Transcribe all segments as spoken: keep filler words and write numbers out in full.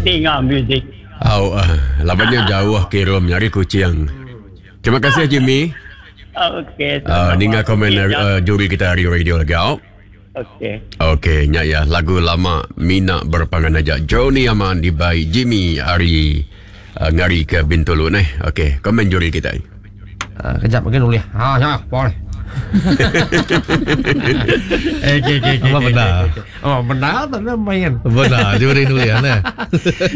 Ninga music. Au, uh, labannya jauh kirum nyari kucing. Terima kasih Jimmy. Okey. Uh, ninga komen uh, juri kita hari radio lagi. Au. Okey. Okey, nya ya lagu lama Mina Berpangan Aja. Johnny Aman dibai Jimmy hari uh, ngari ke Bintulu ni. Okey, komen juri kita. Uh, kejap mungkin boleh. Ha, ya, boleh. Eh, okey, okey, okey. Apa benar? Oh, benar tak nak main. Benar, juri nulis ne.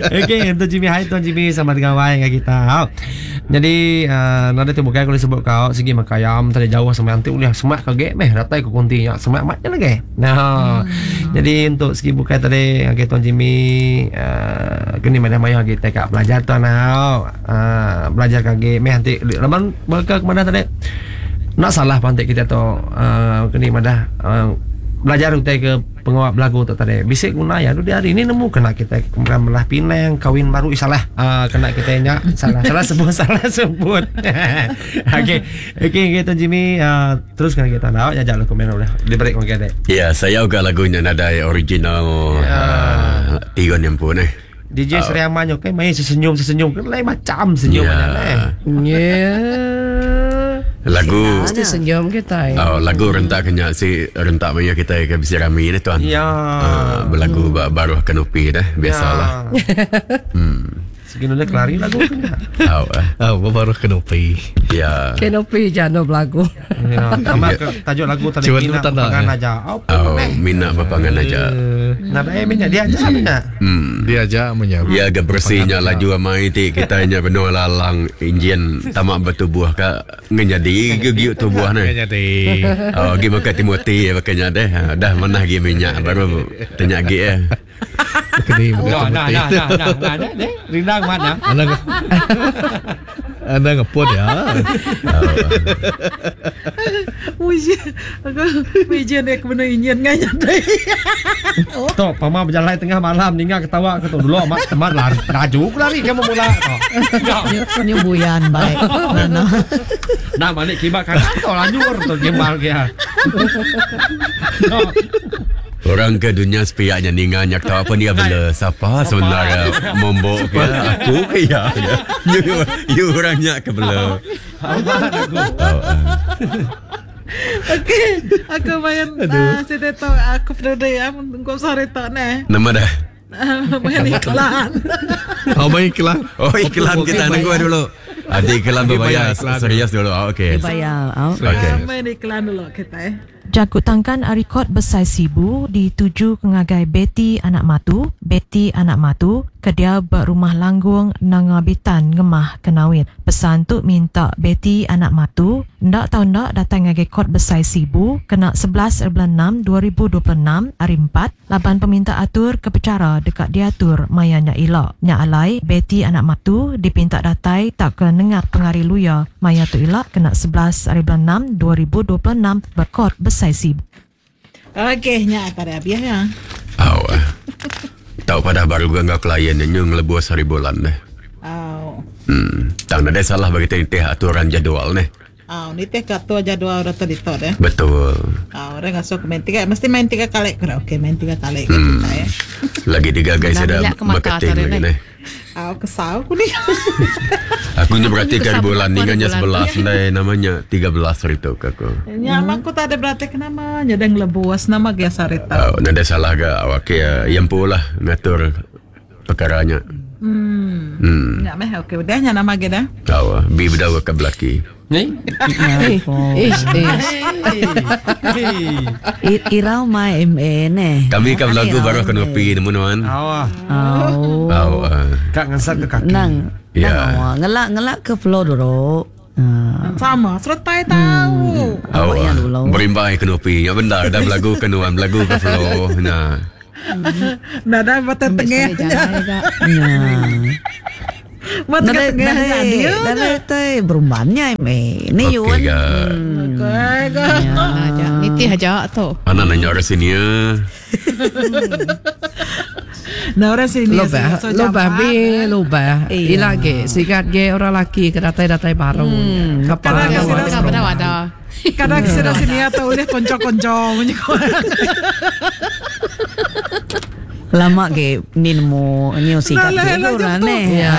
Okey, untuk Jimmy, hai Tuan Jimmy sama dengan Wai dengan kita. Ha. Jadi, uh, nada tu bukan kalau sebut kau segi makan ayam tadi jauh sama nanti boleh semak kage meh datai ke konti ya semak mat je lagi. Nah. Hmm. Jadi untuk segi bukan tadi okey Tuan Jimmy uh, kini mana maya kita kat belajar tuan ha. Uh, belajar kage meh nanti laman berke ke mana tadi? Nak salah pantik kita tu uh, kini madah uh, belajar utai ke pengawak belagu tu tadi. Bisik guna ya tu di hari ini nemu kena kita kemudian melah pinang kawin baru salah uh, kena kita nya salah salah sebut salah sebut. Okey okey kita Jimmy uh, terus kena kita nak ya jalan komen boleh diberi komen kita. Ya, saya juga lagunya nadai original ya. Uh, tiga ni pun eh. D J uh, Seri Aman okey main sesenyum sesenyum lain macam senyum ya. Banyak eh. Ya. Lagu mesti senyum kita. Oh, lagu rentak kena si rentak maya kita ke bisi rami ni tuan. Ya. Uh, berlagu hmm. baru kanopi dah biasalah. Ya. Hmm. Segini dah kelari lagu tu. Oh, oh baru kanopi. Ya. Kanopi jano berlagu. Ya, tambah ke tajuk lagu tadi Mina Berpangan Aja. Oh, Mina Berpangan Aja. Nah, eh minyak dia aja minyak. Hmm. Dia aja minyak. Ya, ge bersihnya laju amai ti kita nya benar lalang enjin tamak bertubuh ka ngenyadi gegiuk tubuh ni. Ngenyadi. Oh, gi makan Timothy makanya deh. Dah mana gi minyak baru tanya gi eh. Kini nah nah nah nah nah nah rindang mana? Anda Anda ngepot ya. Wiji, aku wiji nek benar injin nganya deh. Tok, pama berjalan tengah malam ninga ketawa aku tu dulu amat teman lari laju lari kamu mula. Ni buyan baik. Nah balik kibat kanan tu laju tu gemal kia. Orang ke dunia sepiaknya ninga nyak tahu apa dia bela siapa sebenarnya mombok ke aku ke ya. You, you orangnya ke bela. Okey, aku main uh, saya tahu aku pernah ya engkau sore tak ne. Nama dah. Main iklan. Oh, main iklan. Oh, iklan kita nunggu dulu. Adik iklan berbayar serius dulu. Oh, okey. Dibayar. Oh. Okey. Main iklan dulu kita eh. Jakut tangkan rekod besar Sibu dituju ke ngagai Betty Anak Matu, Betty Anak Matu, ke dia berumah Langgung Nanga Bitan Ngemah Kenawit. Pesan tu minta Betty Anak Matu ndak tahu ndak datang ngagai kod besar Sibu kena sebelas bulan enam dua ribu dua puluh enam hari empat laban peminta atur ke pecara dekat diatur mayanya ilok. Nya alai Betty Anak Matu dipinta datai tak ke nengah pengari luya maya tu ilok kena sebelas hari bulan enam dua ribu dua puluh enam berkod besar Sibu. Okey, nya pada habis ya. Oh. Tahu pada baru gua ngau klien ni ngelebuh hari bulan deh. Oh. Hmm, tak ada salah bagi teh aturan jadual ni. Oh, ni teh katua jadual dah tadi tu deh. Betul. Oh, orang ngasuh main tiga, mesti main tiga kali. Okey, main tiga kali hmm. kita ya. Lagi tiga guys ada marketing lagi ni. Oh, kesal aku ni. Aku ni berarti kali bulan ni kan sebelas ni namanya tiga belas hari tu aku. Ya, aku tak ada berarti kenapa nya ada ngelebuas nama ge sarita. Oh, nada salah ga okey yang pula ngatur perkaranya. Hmm. Hmm. Ya meh okey udah nya nama ge dah. Tahu, bi bedawa ke belaki. Ni? Ish, ish. Irau mai M A ne. Kami kan lagu baru kena pi nemu nuan. Awah. Oh. Oh. Kak ngesat ke kaki. Nang. Ya. Nang ngelak ngelak ke flow dulu. Sama, sertai tahu. Oh, berimbai kena pi. Ya benar dah berlagu ke nuan, berlagu ke flow. Nah. Nah, dah mata tengah. Ya. Mata tengah dia. Dah teh berumbannya me. Ni yuan. Okey, aja. Nitih aja tu. Ana nanya orang sini ya. Nah, orang sini. Lubah, lubah bi, lubah. Ila ge, sigat ge orang laki ke datai-datai baru. Kadang Kadang ada. Kadang kesini sini atau boleh konco-konco punya. Lama ke ni nemu ni sikat Dah lah, ke lah, orang jam tu. ni. Ya.